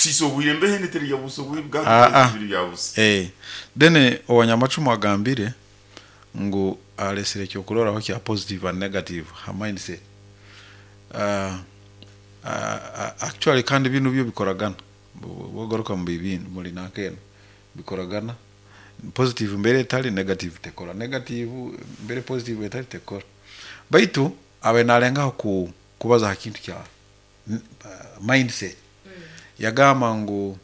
Tusiisa obwire mbeho eteri ya busa obwire bwa Aa. biri bya busa. Eh, then owanyamacumu agambire ngu aresire ekyokurorraho kya positive and negative ha mindset. Actually kandi binu byo bikoragana bwogaruka mubibindi muri nanka enu bikoragana positive mbere etari negative tekora negative mbere positive etari tekora baitu abaire nalengaho ku kubaza ha kintu kya mindset yagamba ngu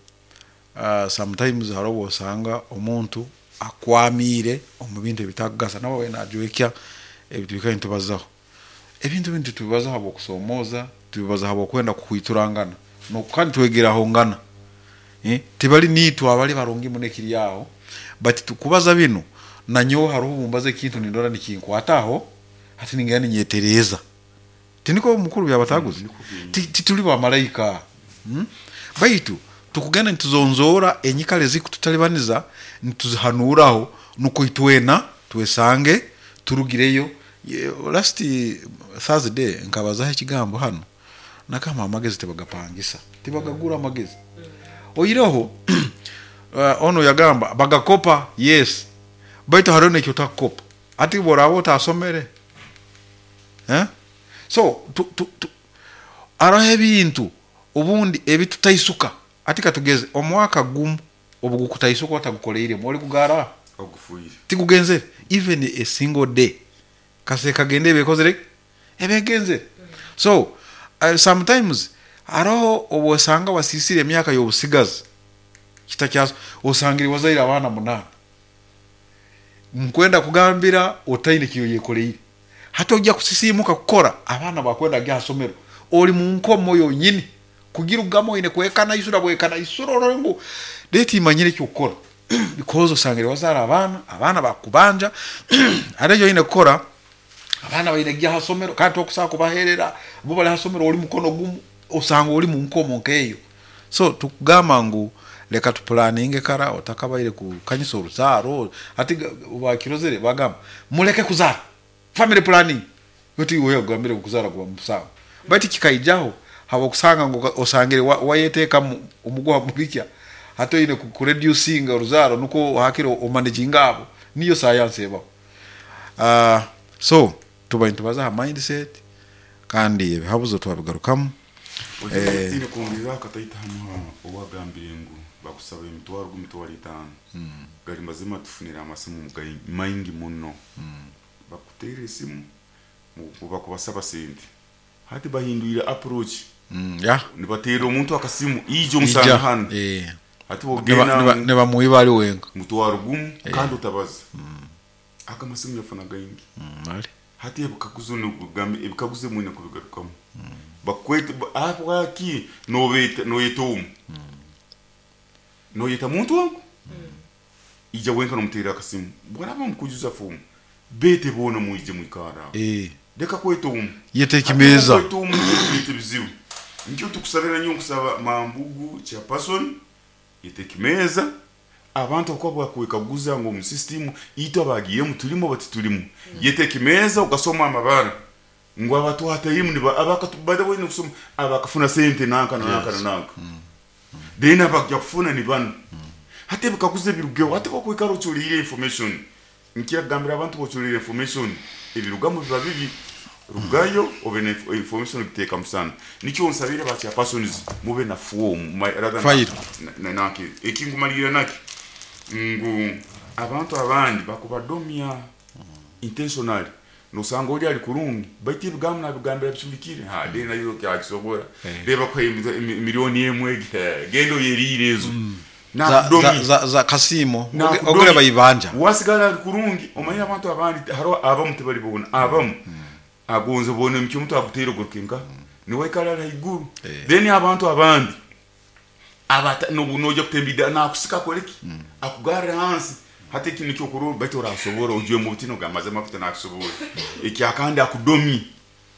sometimes haroho obu osanga omuntu akwamiire omu bintu ebitakugasa nawe abaire najwekya ebi twikaire nitubazaho. Ebintu binu titubibaza habw'okusoomooza, tubibaza habw'okwenda kuhwiturangana kandi twegerahongana. Tibali niitwe abali barungi muno ekiri aho, but kubaza binu nanyowe haroho obu mbaza ekintu nindora nikinkwataho, hati ningenda ninyetereeza. Tinikwo mukuru Byabataaguzi? Tituli bamalaika. Baitu tukugenda nituzonzoora enyikara ezikututalibaniza nituzihanuuraho nukwo itwena twesange turugireyo. Last Thursday nkabazaho ekigambo hanu, nagamba amagezi tibagapangisa, tibagagura amagezi. Oihireho onu yagamba bagakopa, yes, baitu haroho neki otakukopa. Hati obu oraaba otasomere, so haroho ebintu obundi ebitutaisuka. Hati katugeze omwaka gumu obu gukutaisuka otagukoleiremu, oligugarra? Ogufiire. Tigugenzere. Even a single day kasita kagenda eba ekozire ki? Eba egenzere. So sometimes haroho obu osanga wasiisire emyaka y'obusigazi, kitakyaso osangire wazaire abaana munaana. Nkwenda kugambira otaine eki oyekoleire. Hati oija kusisiimuka kukora, abaana bakwenda kugya ha somero, ori mu nkomo yonyini. Kugirugamu oine kwekanaisura bwekanaisura orole ngu rero timanyire eky'okukora because osangire wazaara abaana, abaana bakukubanja, hati eki oine kukora, abaana baine kugya ha somero kandi tokusobola kubaherera, bo bari ha somero ori mukono gumu, osanga ori mu nkomo nk'eyo. So tukugamba ngu leka tupulaninge kara otakabaire kukanyisa oruzaaro, hati bakirozire bagamba muleke kuzaara, family planning, oti iwe oyagambire ngu kuzaara kuba musango, baitu kikaijaho habw'okusanga ngu osangire wayeteekamu omuguha mubikya, hati oine kureducinga oruzaaro nukwo hakire omanaginge abo, niyo sayansi ebaho. So tuba nitubaza ha mindset kandi ebihabuzo twabigarukamu. Oine kwongereraho akataito hamu aha ou agambire ngu bakusaba emitwaro g'emitwaro etaano. Gari mazima tufunire amasimu maingi muno. Bakuteerera esimu ngu bakubasaba sente. Hati bahindwire approach. Nibateerera omuntu akasimu ija omusange hanu. Hati wogenda ngu Nibamwiba ari wenka. mutwaro gumu kandi otabaza. Ago amasimu yafuna gaingi. Hati ebikaguzo nokugamba ebikaguzo ebimwe oine kubigarukamu. Bakwete ahabwaki nobeeta noyeta omu? Noyeta muntu ogu? Ija wenka nomuteerera akasimu. Bwaraba mukwijuza foomu, beete boona mwije mwikarre aho. Leka kweta omu. Yeta Hati ekimeeza. okweta omu nikireeta ebizibu. Nikyo tukusabira nyowe nkusaba Mambugu Chairperson, yeta ekimeeza. Abantu ahakuba bakwekaguza ngu omu system itwe abagiiremu turimu oba titurimu. Yeta ekimeeza ogasoma amabara ngu abatwatairemu niba abakatu by the way nokusoma abakafuna sente nanka na nanka na nanka. Then abakugya kufuna ni banu. Hati ebikaguzo ebirugeho hati okwikara ocureire information Nkira kugambira abantu b'ocureire information ebirugamu biba bibi. Rugayo obe na information ogiteeka musana. Nikyo nsabire ba chairpersons mube na form rather File. na nanka eki nkumalirira naki ngu abantu abandi bakubadomya intentionally nosanga ori ari kurungi baitu ebigambo nabigambira bicurikire ha then nayo otakisobora reeba akuhaire million emwe genda oyeriire ezo. Za, za, za kasiimo ogureba ibanja. Wasigara ari kurungi omanyire abantu abandi hariho abamu tibari boona abamu agonza boona emiti omuntu aguteire oguruke nka niwe aikara ari haiguru then abantu abandi abata nobu noija kutemba idaara nakusika akore ki akugarre hansi hati eki nikyo okurora baitu orasobora ojwemu obutini ogambe mazima amafuta nakisobora ekyakandi akudomye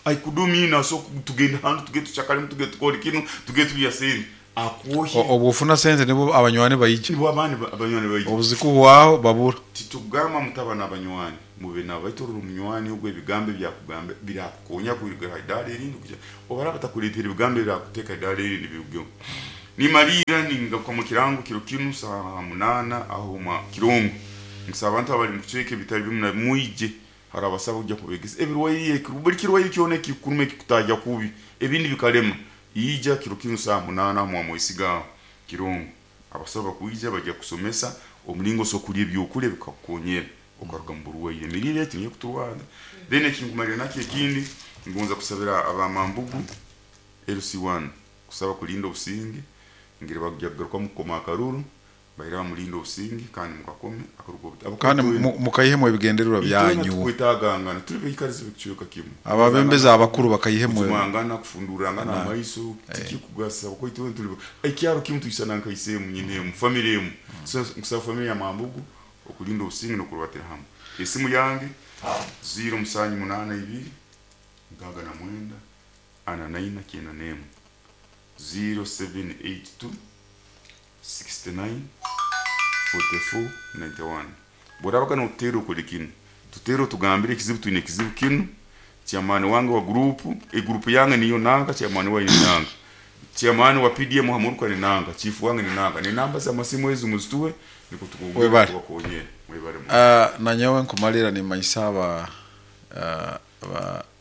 Aikudumya naso tugende hanu tugende tuchakalemu tugende tukore kinu tugende turya sente akwohye. Obu ofuna sente nibwo abanywani baija. Nibwo abandi abanywani baija. Obu zikuhwaho babura. Titugamba mutaba nabanywani mube nabo baitu orora omunywani ogu ebigambo ebi akugamba birakukonya kuruga ha idaara erindi kuhikya obu araba atakureteire ebigambo ebirakuteeka ha idaara erindi birugeho. Nimaliira ningaruka mu kirango kiro kinu saaha munaana aho mwa Kirongo. Nkusaba abantu abari mu kicweka ebitari bimwe na bimwe mwije hari abasawo kujya kubegesa ebirwaire buri kirwaire kyona ekikukuruma ekikutahya kubi ebindi bikarema ija kiro kinu saaha munaana aho mwa Mwesiga aho Kirongo. Abasawo bakwija bajya kukusomesa omulingo osobola kurya ebyokurya bikakukonyera okaruga mu burwaire. Emiriire egi niyo ekuturwaza. Then ekinkumalira nakyo ekindi ngonza kusabira aba Mambugu LC1 kusaba kulinda obusinge ngire bagya kugarukamu kukoma akaruru baire bamulinde obusinge kandi mukakome akarugu Kandi mukaihemu ebigendererwa itwena byanyu. Tukwetagangana tuli baikarizi b'ekicweka kimu. Ababembezi abakuru bakaihemu kujumangana kufundurangana amaiso tikikugasa kuko itwena tuli ekyaro kimu tuisana nka isemu nyine emu family emu. So nkusaba family ya Mambugu okulinda obusinge n'okurubatira hamwe. Esimu yange 0782 69 44 91 0782 69 44 91. Bworabaga notuteera okole kinu, tuteere otugambire ekizibu twine ekizibu kinu, chairman wange wa group, egroup yange niyo nanka, chairman wayo ni nanka, chairman wa PDM hamuruka ni nanka, chief wange ni nanka, ni namba z'amasimu ezo muzituwe niko Webale. tukubakonyera. Mwebale muno. Nanyowe nkumalira nimanyisa aba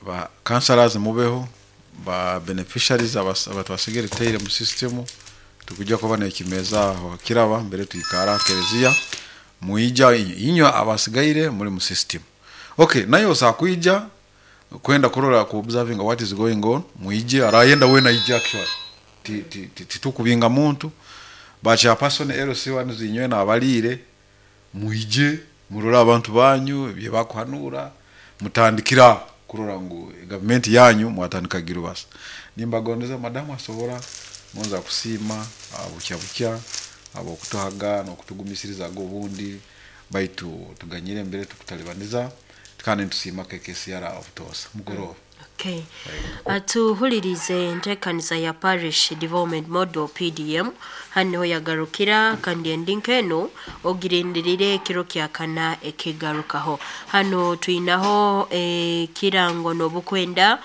ba councillors mubeho ba beneficiaries abatwasigireteire mu system tukujja kuba nekimeza aho kiraba mbere twikara kereziya muija inywe abasigaire muri mu system. Okay, nayo osakwija kwenda kurora ku observing what is going on, muije arayenda wena ija actually titukubinga muntu ba chairperson LC1 zinywe nabalire muije murore abantu banyu ebye bakuhanura mutandikira kurora ngu gavumenti yanyu mwatandikagira basa. Nimbagondeza madamu asobora ngonza kusiima bukya bukya abokutuhaga n'okutugumisirizaga obundi baitu tuganyire mbere tukutalibaniza kandi nitusiima KKCR obutosa mugoroba. Okay. Atuhulirize enteekaniza ya Parish Development Model PDM hano niho yagarukira kandi endi nk'eno ogirindirire ekiro kya kana ekigarukaho. Hano twinaho ekirango n'obukwenda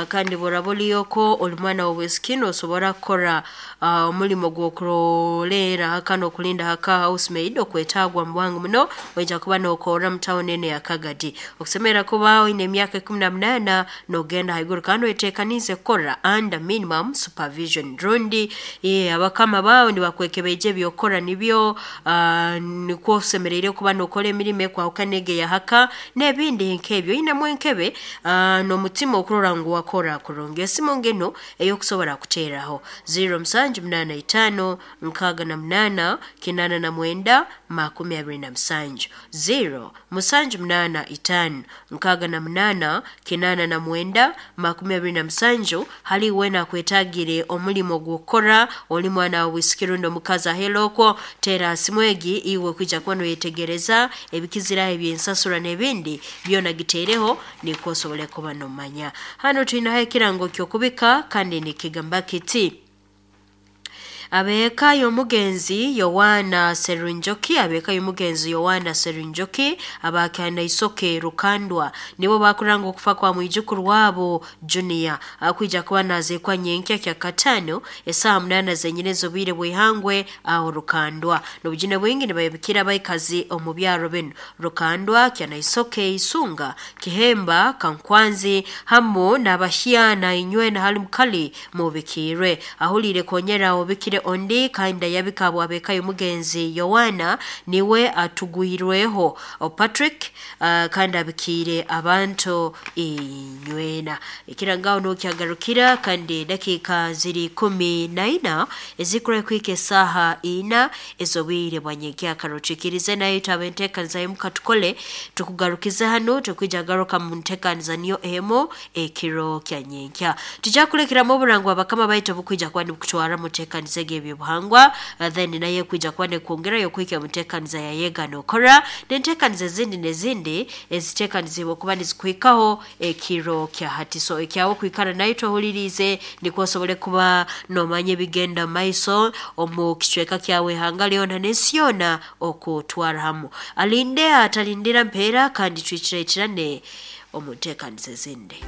kandi boraba oriyoko ori mwana w'obwisiki nosobora kukora omurimo gw'okuroleera haka n'okulinda haka housemaid okwetagwa mu bwangu muno oija kuba nokorra mu tawuni eno ya Kagadi. Okusemerera kuba oine emyaka 18 n'ogenda haiguru kandi oyeteekaniize kukora under minimum supervision rundi abakama baawe nibakwekebeija ebyokukora nibyo nikwo osemereire kuba nokora emirimo ekwahukana egi eya haka n'ebindi nk'ebyo. Oinemu enkebe n'omutima okurora ngu wakora kurungi. Esimu nginu ey'okusobora kuteeraho 0785 68 89 27 0785 68 89 27 hali wena akwetagire omulimo gw'okukora oli mwana w'obwisiki rundi omukazi aheera okwo teera simu egi iwe kwija kuba noyetegereza ebikiziraho eby'ensasura n'ebindi byona giteereho nikwo osobole kuba nomanya. Hano twinaho ekirango ky'okubika kandi nikigamba kiti abeeka y'omugenzi Yowaana Serunjoki, abeeka y'omugenzi Yowaana Serunjoki abakana isoke Rukandwa nibo bakuranga okufa kwa mwijukuru wabo Junior akwija kuba nazeekwa nyenkya kya katano esaaha 8 zenyine z'obwire bw'ihangwe aho Rukandwa. N'obujune bwingi nibayebikira abaikazi omu byaro binu Rukandwa, Kyanaisoke, Isunga, Kihemba, Kankwanzi hamu n'abahyana inywe na hali mukali mubikirwe. Ahuliire konyera obikire ondi kandi ayabika abwabeka y'omugenzi Yowaana niwe atugwirweho Patrick kandi abikiire abantu inywena. Ekirangaho n'okyagarukira kandi dakiika ziri 14 ezikura kwika esaaha 4 ez'obwire bwa nyenkyakara. Otuikirize nayo twaba enteekaniza y'omuka tukole tukugarukize hanu tukwija garuka mu nteekaniza niyo emu ekiro kya nyenkya. Tujja kulekeramu oburango abakama baitu obukwija kuba nibukutwara mu nteekaniza egi ebyobuhangwa then naye kwija kuba nekwongerayo kuhika mu nteekaniza ya yega nokora n'enteekaniza ezindi n'ezindi eziteekanizibwe okuba nizikuhikaho ekiro kya hati. So ekyawe kwikara nayo twahuliriize nikwo osobole kuba nomanya ebigenda mu maiso omu kicweka kyawe ihanga lyona n'ensi yoona okutwara hamu. Alinde atalindira mpeera kandi twikiraikirane omu nteekaniza ezindi.